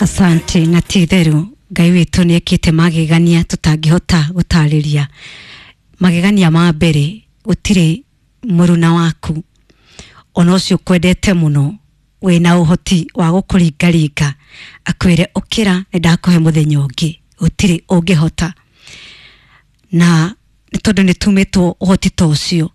Asante. Na ti itheru Ngai witũ nĩ ekĩte magegania tũtangĩhota gũtarĩria. Magegania ma mbere, gũtirĩ mũruna waku ona ũcio ũkwendete mũno wĩna ũhoti wa gũkũringaringa akwĩre ũkĩra nĩ ndakũhe mũthenya ũngĩ, gũtirĩ ũngĩhota. Na nĩ tondũ nĩ tumĩtwo ũhoti ta ũcio,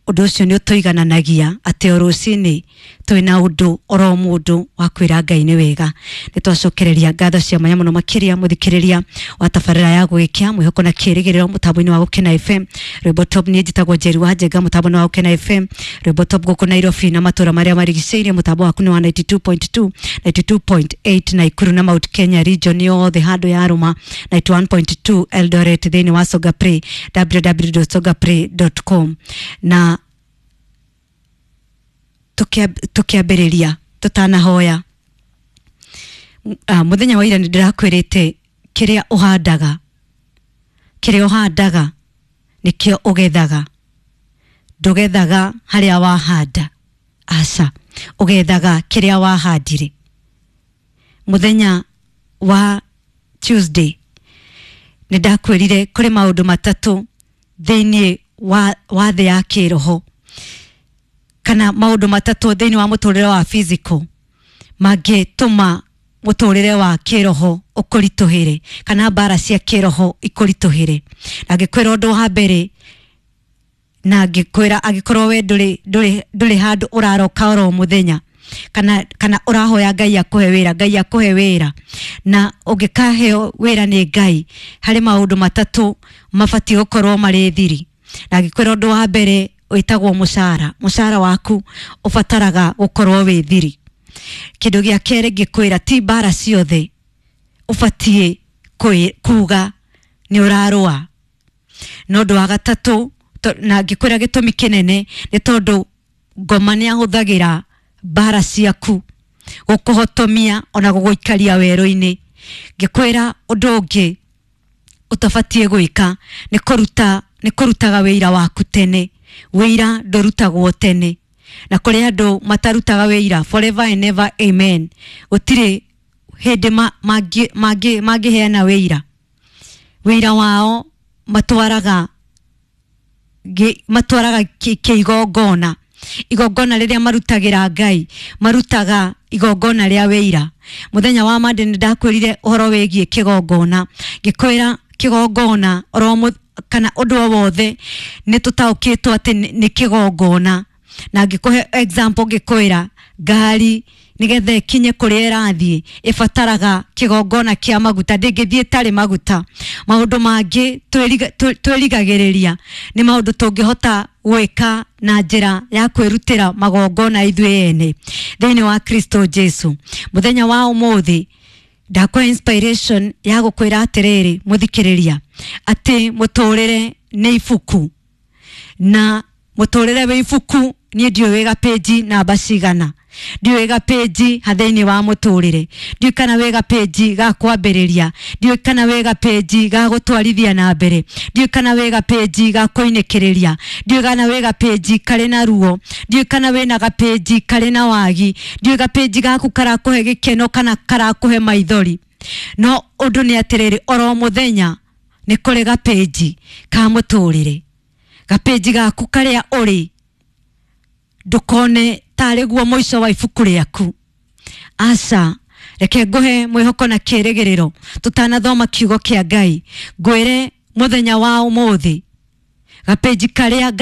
ũndũ ũcio nĩ ũtũigananagia atĩ o rũcinĩ twĩna ũndũ oro mũndũ wa kwĩra Ngai nĩ wega. Nĩ twacokereria ngatho cia mwanya mũno makĩria mũthikĩrĩria wa tabarĩra ya Gũgĩkĩa Mwĩhoko na Kĩrĩgĩrĩro mũtambo-inĩ wa Gũkena FM Rwĩmbo Top. Niĩ njĩtagwo Njeri wa Njenga, mũtambo-inĩ wa Gũkena FM Rwĩmbo Top gũkũ Nairobi na matũra marĩa marigicĩirie. Mũtambo waku nĩ wa 92.2, 92.8 Naikuru na Mount Kenya region yothe handũ ya rũma, 91.2 Eldoret, thĩinĩ wa Songa Play, www.songaplay.com. Na tukiambĩrĩria tũtanahoya, mũthenya wa ira nĩ ndĩrakwĩrĩte kĩrĩa ũhandaga, kĩrĩa ũhandaga nĩkĩo ũgethaga. Ndũgethaga harĩa wahanda, aca, ũgethaga kĩrĩa wahandire. Mũthenya wa Tuesday nĩ ndakwĩrire kũrĩ maũndũ matatũ thĩinĩ wa thĩ ya kĩroho, kana maũndũ matatũ thĩinĩ wa mũtũrĩre wa physical mangĩtũma mũtũrĩre wa kĩroho ũkũritũhĩre, kana mbara cia kĩroho ikũritũhĩre. Na ngĩkwĩra ũndũ wa mbere, na ngĩkwĩra angĩkorwo we ndũrĩ handũ ũraroka oro mũthenya, kana ũrahoya Ngai akũhe wĩra, Ngai akũhe wĩra, na ũngĩkaheo wĩra nĩ Ngai, harĩ maũndũ matatũ mabatiĩ gũkorwo marĩ thiri. Na ngĩkwĩra ũndũ wa mbere wĩtagwo mũcara. Mũcara waku ũbataraga gũkorwo wĩ thiri. Kĩndũ gĩa kerĩ ngĩkwĩra, ti mbara ciothe ũbatiĩ kuga nĩ ũrarũa. Na ũndũ wa gatatũ, na ngĩkwĩra gĩtũmi kĩnene nĩ tondũ ngoma nĩ ahũthagĩra mbara ciaku gũkũhotomia ona gũgũikaria werũ-inĩ. Ngĩkwĩra ũndũ ũngĩ ũtabatiĩ gwĩka nĩ kũruta, nĩ kũrutaga wĩira waku tene. Wĩira ndũrutagwo tene, na kũrĩ andũ matarutaga wĩira forever and ever, amen. Gũtirĩ hĩndĩ mangĩheana wĩira. Wĩira wao matwaraga kĩigongona. Igongona rĩrĩa marutagĩra Ngai, marutaga igongona rĩa wĩira. Mũthenya wa Monday nĩ ndakwĩrire ũhoro wĩgiĩ kĩgongona, ngĩkwĩra kĩgongona oro kana ũndũ o wothe nĩ tũtaũkĩtwo atĩ nĩ kĩgongona. Na ngĩkũhe example, ngĩkwĩra ngari nĩgetha ĩkinye kũrĩa ĩrathiĩ ĩbataraga kĩgongona kĩa maguta, ndĩngĩthiĩ ĩtarĩ maguta. Maũndũ mangĩ twĩrigagĩrĩria nĩ maũndũ tũngĩhota gwĩka na njĩra ya kwĩrutĩra magongona ithuĩ ene thĩinĩ wa Kristo Jesu. Mũthenya wa ũmũthĩ ndakwa inspiration ya gũkwĩra atĩrĩrĩ mũthikĩrĩria, atĩ mũtũrĩre nĩ ibuku, na mũtũrĩre wĩ ibuku niĩ ndiũĩ wĩga page namba cigana, ndiũĩ ga page ha thĩinĩ wa mũtũrĩre, ndiũĩ kana wĩ ga page ga kwambĩrĩria, ndiũĩ kana wĩ ga page ga gũtwarithia na mbere, ndiũĩ kana wĩ ga page ga kũinĩkĩrĩria, ndiũĩ kana wĩ ga page karĩ na ruo, ndiũĩ kana wĩna ga page karĩ na wagi, ndiũĩ ga page gaku karakũhe gĩkeno kana karakũhe maithori. No ũndũ nĩ atĩrĩrĩ, oro mũthenya nĩ kũrĩ ga page ka mũtũrĩre. Ga page gaku karĩa ũrĩ ndũkone tarĩ guo mũico wa ibuku rĩaku. Aca, reke ngũhe mwĩhoko na kĩrĩgĩrĩro tũtanathoma kiugo kĩa Ngai. Ngwĩre mũthenya wa ũmũthĩ gapeji karĩa